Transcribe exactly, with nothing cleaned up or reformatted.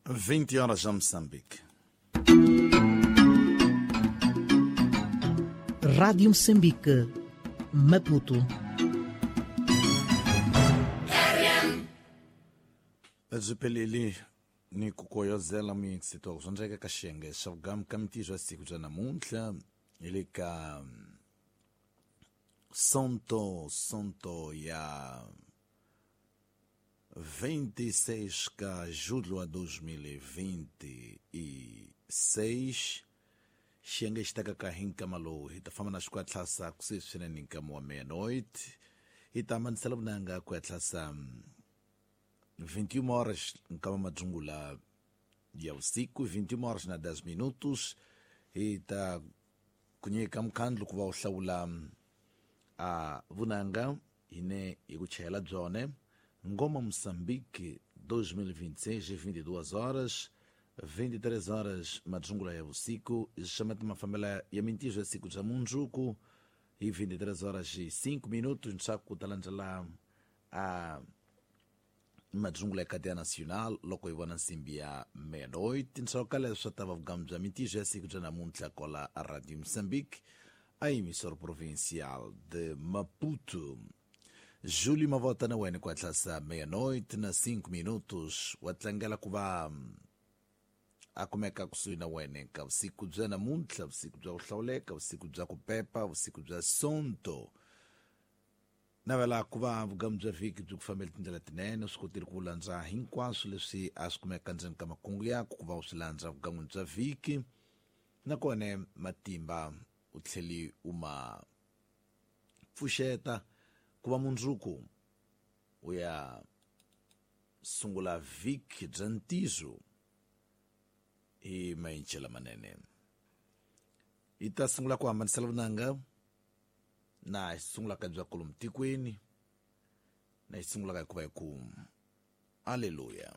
vinte horas já Moçambique. Rádio Moçambique, Maputo. Byi ni ku koyozela muyingisito swo ndleka ka xiyenge xa vugamu ka mintirho ya siku bya namuntlha hi le ka Sonto Sonto ya vinte e seis ka julho a dois mil e vinte e seis xiyenge xi tekaka hi nkama lowu hi ta famba na xi ku ya tlhasa kusuhi swinene nkama wa meia-noite hi ta hambanisela vunanga ku ya tlhasa vinte e uma horas nkama madzungula ya usiku, vinte e uma horas na dez minutos hi ta ku nyika mukhandlu ku va u hlawula a vunanga hine hi ku chayela byone Ngoma Moçambique dois mil e vinte e seis, vinte e duas horas, vinte e três horas madzungula ya usiku, xamati mafambela ya mintijo ya siku bya mundzuku hi vinte e três horas e cinco minutos ntshaku ta landzela a madzungula ya cadeia nacional loko hi vona nsimbi ya meia-noite ntshaku leswi ta va vugamu bya mintijo ya siku bya namuntlha kola a Radio Moçambique a emissora provincial de Maputo. Júlio Mavota na wena ku hatlasa meia-noite na cinco minutos wa tlangela ku va a kumeka kusuhi na wena ka vusiku bya namuntlha, vusiku bya ku hlawuleka, vusiku bya ku pepa, vusiku bya Sonto. Navela ku va vugamu bya vhiki byi ku fambela tindlela tinene, swi kotile ku landza hinkwaswo leswi a swi kumeka ndzeni ka makungu yaku ku va u swi landza vugan'wini bya vhiki, nakona matimba u tlheli u ma pfuxeta ku va mundzuku u ya sungula vhiki bya ntizo hi maenche lamanene. Hi ta sungula ku hambanisela vunanga na hi sungulaka bya kolomu tikweni na hi sungulaka hikuva hi ku aleluya.